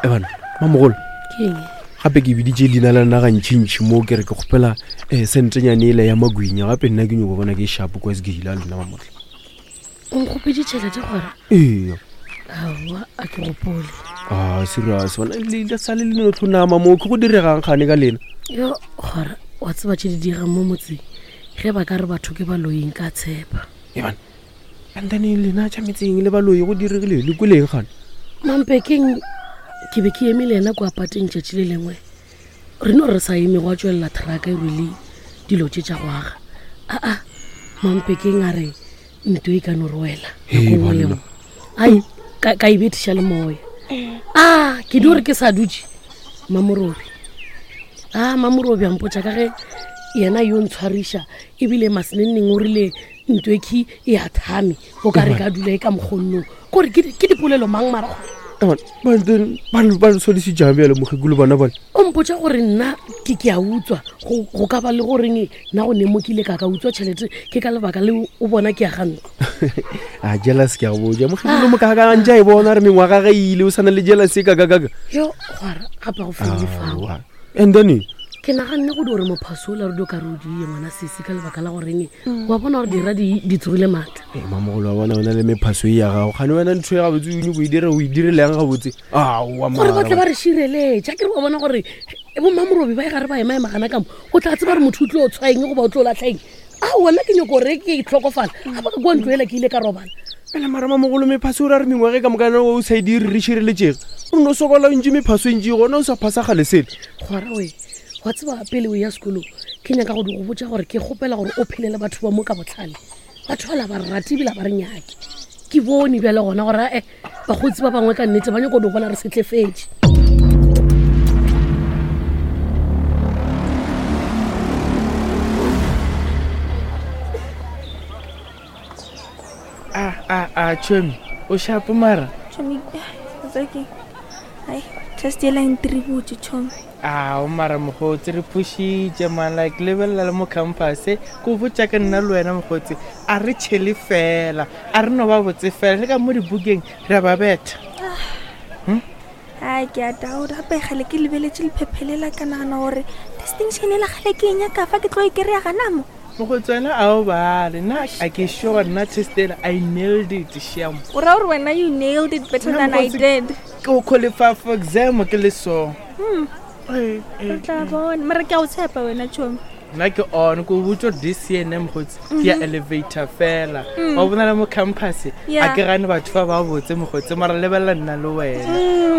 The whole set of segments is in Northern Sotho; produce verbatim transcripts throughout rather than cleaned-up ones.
Ebana mamogolo Ke eng? Gape ke biditše leina la nna gantšhintšhi mo ke re ke kgopela um sentenyane ele ya magwinya gape nna ke nyoko bona ke shapo kwa sekeila lena mamotla. O nkgopetše tšhelete gore? Ee. Aowa, a ke gopole. A serious bona le sale le no tlhonama mo ke go diregang gane ka lena. Yo gore wa tseba tše di diregang mo motseng ge ba ka re batho ke baloing ka tshepa. Ebana and then lena tša metseng le baloi go diregile le kweleng gane? Mampekeng ke be ke eme le yena kwa pateng tšatši le lengwe re no re sa eme go a tswelela trucka e rwele dilo tše tša go aga. Aa Mampekeng a re nto e ka no re wela nako nngwe le nngwe. Ai ka ka e bethiša le moya. A ke di gore ke sa dutše Mamorobi. A Mamorobi a mpotša ka ge yena yo ntshwariša ebile maseneneng o rile nto e key e a thame o ka re ka dula e ka mokgonnong kore ke ke dipolelo mang mara gore. Ebana ba ba ba sodise jang bjale mokgekolo bana bale? O mpotša gore nna ke ke a utswa go go ka ba le goreng nna go ne mo ke ile ka ka utswa tšhelete ke ka lebaka le o bona ke ya ga ntlo. A jealous ke a go botša mokgekolo mo ka ka ntse a e bona re mengwaga ge ile o sana le jealous e ka ka ka ka. Yo gwara gape go fedile fao. And then ke naganne go di gore mophaso ola re dio ka re o die ngwana sesi ka lebaka la goreng wa bona gore dira di di tsogile maatla. Ee mamogolo wa bona o na le mephaso e ya gago gane wena ntho e gabotse o nyako e dire o e direleng gabotse. Aowa Gore ba tle mara. ba re šireletša ke re wa bona gore bo Mamorobi ba e gare ba ema-ema gana ka mo o tla tseba gore motho o tlo tshwaeng goba o tlo latlhaeng. Aowa nna ke nyako gore ke tlhokofala ga ba ka kua ntlo ela ke ile ka robala. Ela mara mamogolo mephaso o ra re mengwaga e ka mokana o sa e dire re šireletšege o no sokola o ntše mephaso e ntši gona o sa phasa gale sele. Gwara oe wa tseba pele o ya sekolong ke nyaka go di go botša gore ke kgopela gore o phele le batho ba mo ka botlhale. Batho bala ba re rate ebile ba re nyake. Ke bone bjale gona gore ae bakgotsi ba bangwe ka nnete ba nyako di bona re setlefetše. A a a chomi o shapo mara. Chomi tsaki. Ai test yela ntributse chomi. A o mara mogotsi re phušitše man like lebelela le mo campus ko botša ke nna le wena mogotsi a re tšhele fela a re no ba botse fela le ka mo dibukeng re a ba betha. Ai ke a doubt gape gale ke lebeletše lephephele la ka nagana gore distinction ela gale ke e nyaka fa ke tlo e kry-a gana mo. Mogotsi wena a o bale nna a ke sure nna test ela I nailed it shame. O ra gore wena you nailed it better Nna than I mokgotsi, did. Ke o qualify for exam ke le so. Hmm. Ee, ee, Re tla bona mara ke a o tshepa wena chomi. Nna ke on ko botsa this year ne mogotsi ke ya elevator fela. Mm. Wa bona le mo campus a Yeah. ke gane batho ba ba botse mogotsi mara lebelela nna le wena.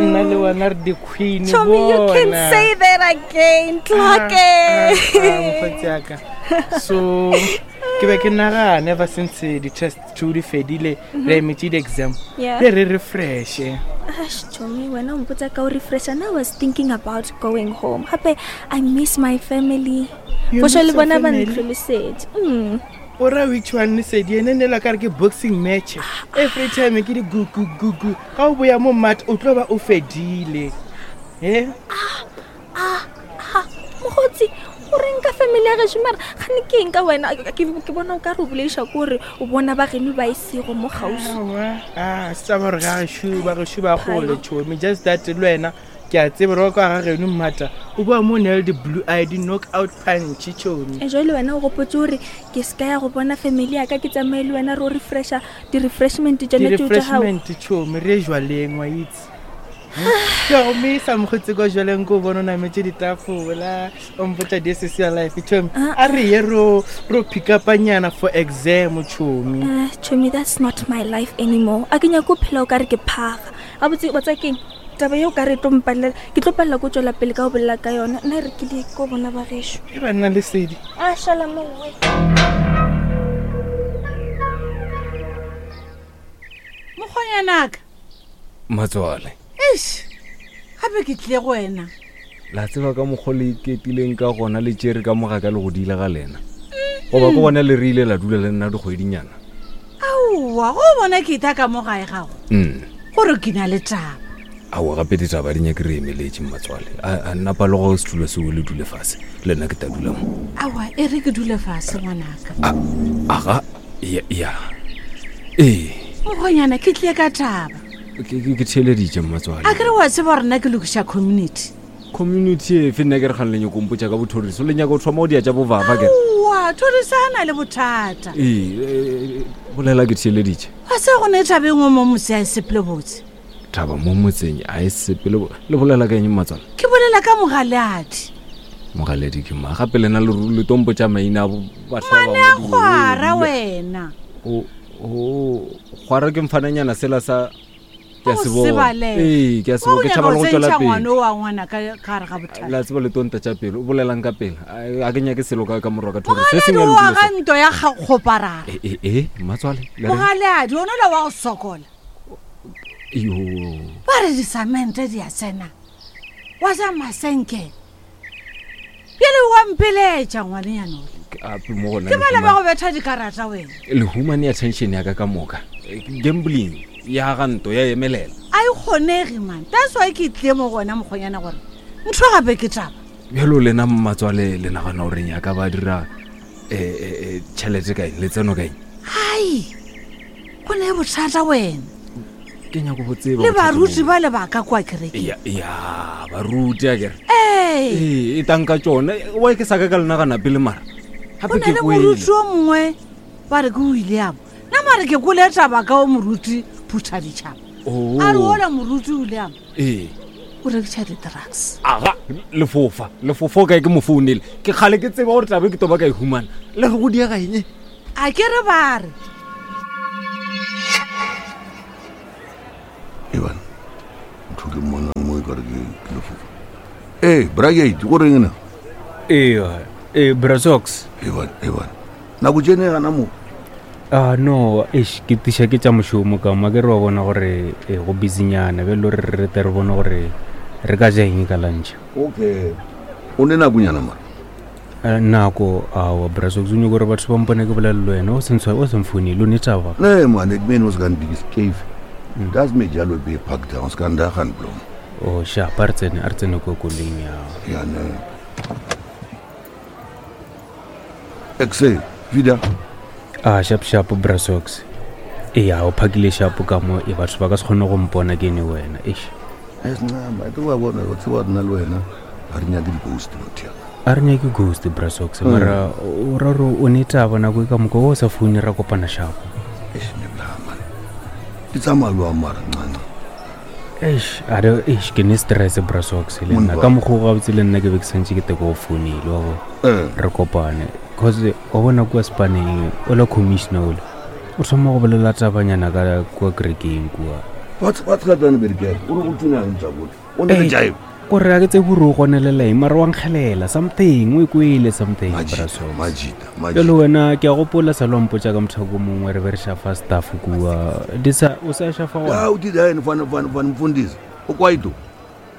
Nna le wena re di-queen Chomi, you can bona. say that again. Ah, Tlhoke. ah, ah, mokgotsi ya ka. So ke be ke nagana ever since di-test two di fedile re emetse di-exam Yeah. re re refreshe. Ash, Chomi, wena o mpotsa ka o refresha. Now I was thinking about going home. Gape I miss my family. You For sure miss le your bona ba family? ntlholosetše. Mm. O ra which one lesedi ene ne la ka re ke boxing match. Every time ke di gu gu gu gu. Ga o boya mo mat o tlo ba o fedile. Eh? Ah, ah, mogotsi o reng ka family ya gešo mara gane ke eng ka wena? Ke, ke bona o ka re o boleiša ko gore o bona ba geno ba e sego mo kgauswi. Aowa, ah, se taba gore ga gešo ba gešo ba gole tšhomi just that le wena ke a tseba gore wa kwa ga geno mmata o boa mo nail di-blue eye di-knock out punch tšhomi. E jwale wena o gopotse gore ke se ka ya go bona family ya ka ke tsamaye le wena re o refresha di-refreshment tsone tseo tša gago. Di-refreshment tšhomi re ye jwaleng wa itse. Ke a go misa mokgotsi kwa jwaleng ko o bone o nametse ditafola o mpotsa this is your life tšhomi. Ah. A re ye ro ro pick upanyana for exam tšhomi. Uh, Chomi, that's not my life anymore. A ke nyake go phela o ka re ke phaga. Gabotse wa tseba keng? Taba yeo ka re e tlo mpalela, ke tlo palela ko tswela pele ka go bolela ka yona. Nna e re ke di ko bona ba gešo. E ba nna lesedi. A šala mo we. Mokgonyanaka. Matswale. Eish, gape ke tlile go wena. La tseba ka mokgwa le iketileng ka gona le tšere ka moga ka le go dile ga lena. Goba ke gona le re ile la dula le nna dikgwedinyana. Aowa, go bona ke itha ka mo gae gago. Mm. Gore ke na le taba. Aowa gape ditaba di nyake re emeletše mmatswale. A a nna paloga setulo seo le dule fase. Le nna ke tla dula mo. Aowa, e re ke dule fase ngwanaka. A aga ya ya. Ee. Mokgonyana ke tlile ka taba. Ke ke- ke theeleditše mmatswale. A kere wa tseba gore nna ke lokiša community. Community efe? Nna ke re kgang le nyako mpotša ka bothoriso, le nyaka go thoma go dia tša bovava kere. Aowa, thoriso a na le bothata. Ee, eh, bolela ke theeleditše. Wa se go ne thabeng o mo motse a e sepele botse. Thaba mo motseng a e sepele bo- le bolela ka eng mmatswale? Ke bolela ka mogaleadi. Mogaledi ke ma gape lena le ru- le tompotša maina a bo- batho ba Ngwane a bangwe kgwara di- wena. O- o kgwara ke mfananyana sela sa ke a Wa se go bona. sebalega. Ee, ke a se Wa bona, o ke nyaka tšhaba go le go tšwela tsentšha ngwana pele. o wa ngwana ka ka gare ga bothata. La tseba le tonta tša pele, o bolelang ka pele. A a ke nyake selo ka ka morwa ka thoriso. Se Mogaleadi sengwe o lokile aga so. nto ya kga- kgoparara. E e e mmatswale le reng? Mogaleadi one ola wa go sokola. Yo. Ba re disamente di a tsena. Wa ja masenke. Bjale wa mpeletša ngwanenyana ole. Ke ape mo gona Ke le bale ba humane- go betha dikarata wena. le humane attention ya ka ka moka. Eh, Gambling ya ga nto ya emelela. A e kgonege man. That's why ke tlile mo go wena mokgonyana gore ntho gape ke taba. Bjalo lena mmatswale le nagana gore nyaka ba dira eh, eh, eh, tšhelete ka eng, letseno ka eng? Hai. Go ne bothata wena. Ke nyako bo tseba Le bothata baruti boo. ba le ba ka kwa kerekeng. Ya ya baruti a kere. Ee. Ee, e tanka tšona. Why ke sa ka ka le nagana pele mara? Go Gape na ke le kwele. moruti o mongwe ba re ke William. Nna mare ke kwele taba ka o moruti Phuthaditjhaba. Oh. A re ola moruti William Ee. o rekiša di-drugs. Aga, lefofa. Lefofa o kae ke mo founele. Ke kgale ke tseba gore tlabe ke toba ka e humana. Le re go diega eng? A ke re ba re Eban, ntho ke mmonang mo e kare ke ke lefofa. Ee, bragate, go reng na? Ee, ee, Brasox. Eban, eban. Nako tšene gana mo. Ah no, eish, ke tiša ke tša mošomo ka mo ke re wa bona gore eh, go busynyana bjalo re re tle re bone gore re ka ja eng ka lunch. Okay. O ne nakonyana mara. Eh, nako aowa Brasox o nyako gore batho ba mpone ke bolela le wena o se ntshwa- o se mfounele o ne taba. Ne man, ek meen ons gaan bietjie skeef. Das met jalo be pak down, ons kan daar gaan blom. O sharp, a re tsene a re tsene ko koloing ya. Ja nee. Ek sê, vida. Ah sharp sharp Brasox. Ee, a o phakile sharp ka mo e batho ba ka se kgone go mpona ke ne wena. Eish. Es na, ma ke wa bona, wa tseba nna le wena. Ha re nyake di-ghost motho ya. A re nyake ghost Brasox mara o ra gore o ne taba nako e ka moka o sa foune ra kopana sharp. Eish, ne bla man. Di tsamaya jwang mara ncanca? Eish, a re eish ke ne stress Brasox le nna Monna. ka mokgwa o gabotse le nna ke be ke santse ke te ko go founile wa bona. Eh. Re kopane cause wa bona kua spaneng ola commissioner ola o thoma go bolela tabanyana ka kua kerekeng kua. Wat wat gaat dan by die kerk? O re o tsena eng tsa bone? O ne le jive. Kore a ke tsebe gore o gonelela eng mara wa nkgelela something o e kwele something Majita, Brasox. majita, majita. Bjalo wena ke a gopola sa lompotša ka mothako mongwe re be re šafa staff kua di sa o sa šafa Ya gona o di dae van van van mfundisi. O kwaito.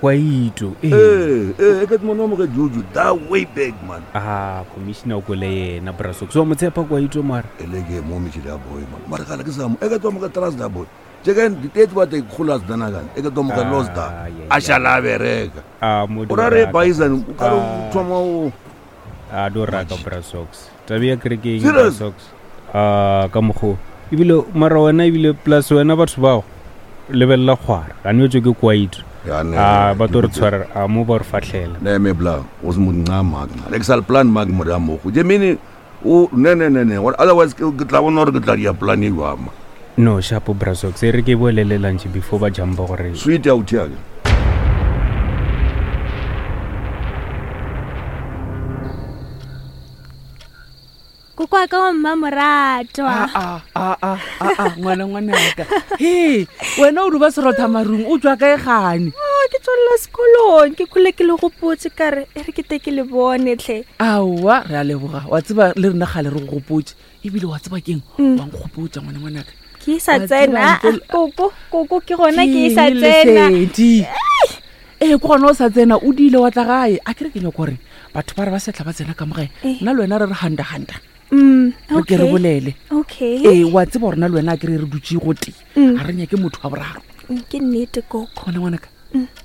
kwaito ee Eh, eh, ek het mon oom gejuju that way back man. ah commissioner o kwele yena Brasox wa mo tshepa kwaito mara Ele ke mo metšhile ya boy man. Mara gala ke sa mo. Ek het hom getrust da boy. Jeken die tyd wat ek golas dana kan. Ek het hom gelos da. Ah, ja, A shala bereka. a mo O ra re baisan o ka re o thoma o a do raka Brasox tabe ya kerekeng Serious? Brasox a ka mokgo ebile mara wena ebile plus wena batho bao lebelela kgwara gane o tswe ke kwaito Ja, nee, a ba tlo re ke- tshwara a mo ba re fahlela Nee, me bla, ons moet namaak. Ek sal plan maak met hom ook. Jy meen o nee nee nee nee, want otherwise ke ke tla bona gore ke tla dia plan e jwang. no shapo Brasox e re ke bolele lunch before ba jumpa gore Sweet out here. Koko wa ka wa mmamoratwa. aa aa aa ngwana ngwanaka he wena o duba serotha marung o tswa kae gane? Ah, ke tswelela sekolong ke khole ke le gopotse ka re e re ke te ke le bone tlhe. Aowa, re a leboga. Wa tseba le rena gale re go gopotse ebile wa tseba keng wa nkgopotsa ngwana ngwanaka. Ke e sa Wa tsena tseba ah, ntle le- koko koko ke gona ke e sa Ke eng tsena. Lesedi? Ee, ke gona o sa tsena o diile wa tla gae a kere ke nyako gore batho ba re ba setla ba tsena ka mogae Eh. nna le wena re re handa-handa Mm, re ke re okay. bolele. Okay. Ee, wa tseba gore na le wena a kere re dutse go tee Mm. ga re nyake motho wa boraro. Mm, ke nnete koko. Ngwana ngwanaka,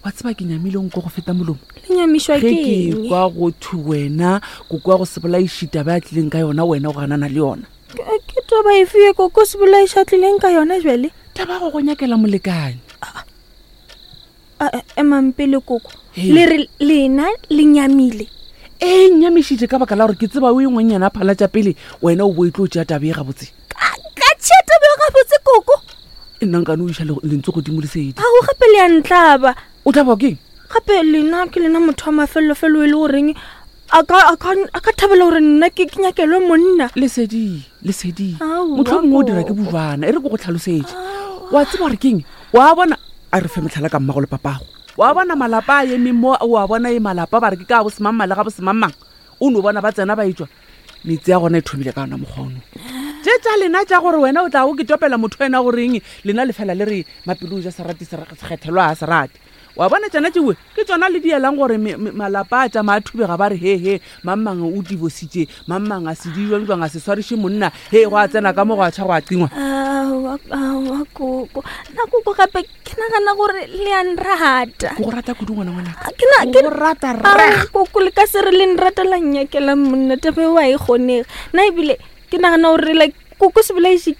wa tseba ke nyamile nko go feta molomo Le nyamišwa ge ke ke eng? kwa go thwe wena koko wa go se bolaišita ba a tlileng ka yona wena o ganana le yona. Ke ke taba efe ye koko se bolaiša tlileng ka yona jale? Taba ya go go nyakela molekane. Emang pele koko le re lena le nyamile e nyamišitše ka baka la gore ke tseba o engwe nyana phala tša pele wena o bo e tlo tšea tabe e gabotse ka tšea tabe e gabotse koko e nna nkane o iša lentswe godimo lesedi ao gape le ya ntlaba o tlaba keng gape lena ke lena motho wa mafelelofelo e le goreng a ka thabela gore nna ke nyakelwe monna lesedi lesedi motlho mongwe o dira ke bojwana e re ko go tlhalosetše wa tseba gore keng wa bona a re fe metlhala ka mmago le papago wa bona malapa a emeng mo wa bona e malapa ba re ke ka bosemangmang le ga bosemangmang o no bona ba tsena ba etswa metsi ya gona e thomile ka yona mokgono tše tša lena tša gore wena o tla o ke topela motho wena goreng lena lefela le re mapelo o ja serati sekgethelwa a serati wa bona tsena tšewe ke tsona le dielang gore malapa a tšama a thubega ba re he he mangmang o divositše mangmang a se dijwang jwang a se swariše monna he go a tsena ka mo go a tšha go a tingwa aowa koko nna koko gape ke nagana gore le a nrata ke go rata kudu ngwana ngwanaka ke go rata rra koko le ka se re le nrata la nnyakela monna tabe wa e kgonege nna ebile ke nagana gore like koko se bolaiše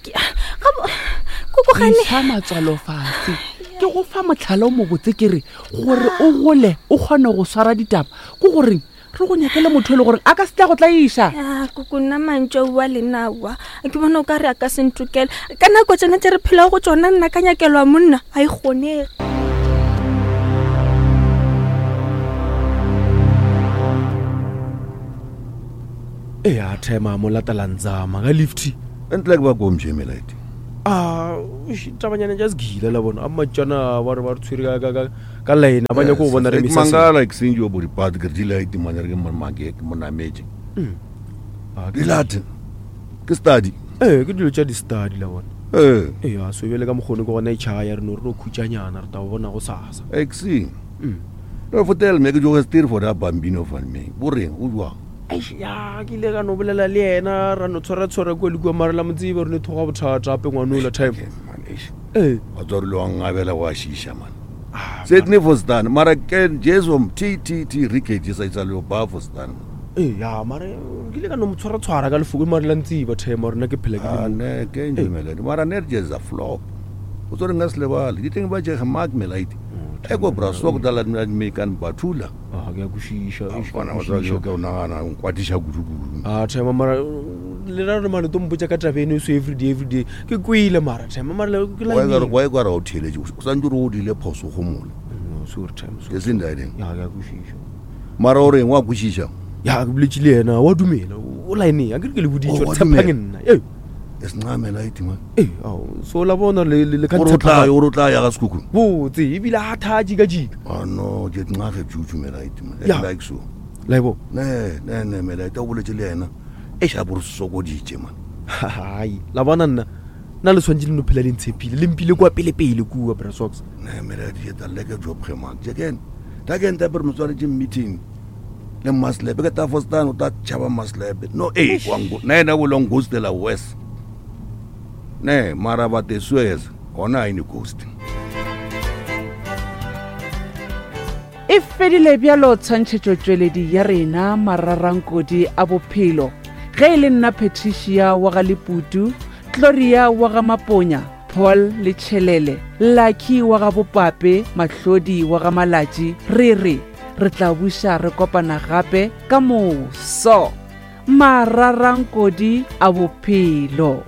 koko gane sa matswalo fatshe ke go fa motlhala o mobotse ke re gore o gole o kgone go swara ditaba ke goreng re go nyakele motho e le goreng a ka se tla go tlaiša koko nna mantšu a lena aowa ke bona o ka re a ka se ntokele ka nako tsena tse re phelago go tsona nna ka nyakelwa monna a e kgonege e a thema mo latalantsama ka lifty ntle ke ba komjemelaite a tabanyana tša segile la bona a matšana ba re ba re tshwere ka line ba nyako go bona re mangala ke sentse wa boripati ke re dilaete mane re ke make ke monametse dilate ke study ee ke dilo tša di-study la bona ee ee so bjale ka mokgone ke gona e tšhaya re no re no khutšanyana re tla go bona go sasa exi no fotel me ke joge steer for that bambino van me boreng o jwang ya ke ile ka no bolela le yena ra no tshwara-tshwara kua le kua mare la motsebe re ne thoga bothata gape ngwanola time ee wa tswa rile wa ngabela wa šiša man setne fostan mara ke jesu t t t rikedi sa itsa le ba fostan ee ya mare ke ile ka no mo tshwara-tshwara ka lefoko mare la ntseba time rena ke phela ke le ne ke ndumelele mara ne jeza flop o tsore nga se lebale di teng ba jege mark melaite e ko brasok dala me kan bathula a ke a kwešiša ke o nagana o nkwatiša kudu-kudu a tema mara le ra re mane to mpotša ka taba eno so everyday everyday ke kwele mara tema mara wa e kwara o theeletše o santse re o diile phoso go mola ke sendaedeng ya ke a kwešiša mara o reng wa kwešiša ya ke boletše le yena wa dumela o lineng a ke re ke le boditše gore tshepang nna ee e sencamela itima ee ao so la bona le le ka gore o tla gore o tla ya ga sekhukhu botse ebile a tha jika jika ah no ke nxage juju mela itima like so laibo ne ne ne mela ita o boletse le yena e sha bo re sokoditše man hai la bona nna nna le tshwanetse le no phela le ntshepile le mpile kwa pele pele kua brasox ne mela di eta leke job ge man jeken ta ke nta per motsware meeting le maslebe ke ta fostan o ta tšhaba maslebe no e kwango na yena bolong ghostela west ne mara ba te suez gona ine ghost e fedile bjalo tshwantšhetšo tšweledi ya rena mararankodi a bophelo ge e le nna Patricia wa ga Leputu, Gloria wa ga Maponya, Paul le Tšhelele, Lucky wa ga Bopape, Mahlodi wa ga Malatši, re re re tla buša re kopana gape ka moso. Mararankodi a bophelo.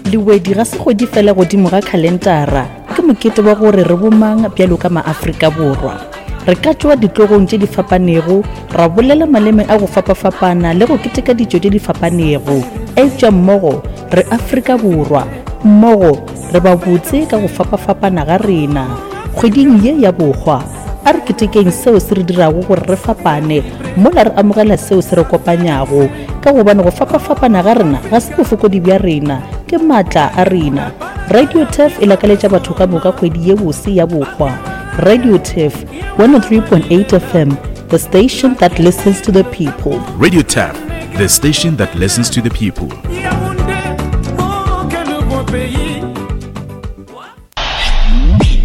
Lewedi ga se kgwedi fela godimo ga khalentara, ke mokete wa gore re bomang bjalo ka maAfrika Borwa. Re ka tšwa ditlogong tše di fapanego, ra bolela maleme a go fapafapana le go keteka ditšo tše di fapanego. Eupša mmogo re Afrika Borwa, mmogo re ba botse ka go fapafapana ga rena. Kgweding ye ya bokgwa, a re ketekeng seo se re dirago gore re fapane, mola re amogela seo se re kopanyago, ka gobane go fapafapana ga rena ga se bofokodi bja rena, ke maatla a rena. Radio Turf e lakaletša batho ka moka kgwedi ye bose ya bokgwa. Radio Turf one oh three point eight F M, the station that listens to the people. Radio Turf, the station that listens to the people.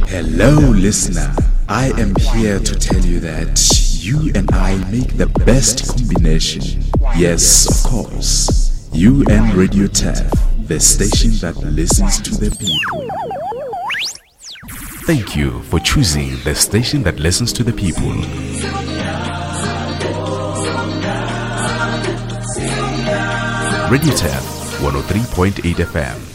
Hello, listener. I am here to tell you that you and I make the best combination. Yes, of course. U N Radio T A F, the station that listens to the people. Thank you for choosing the station that listens to the people. Radio T A F one oh three point eight F M.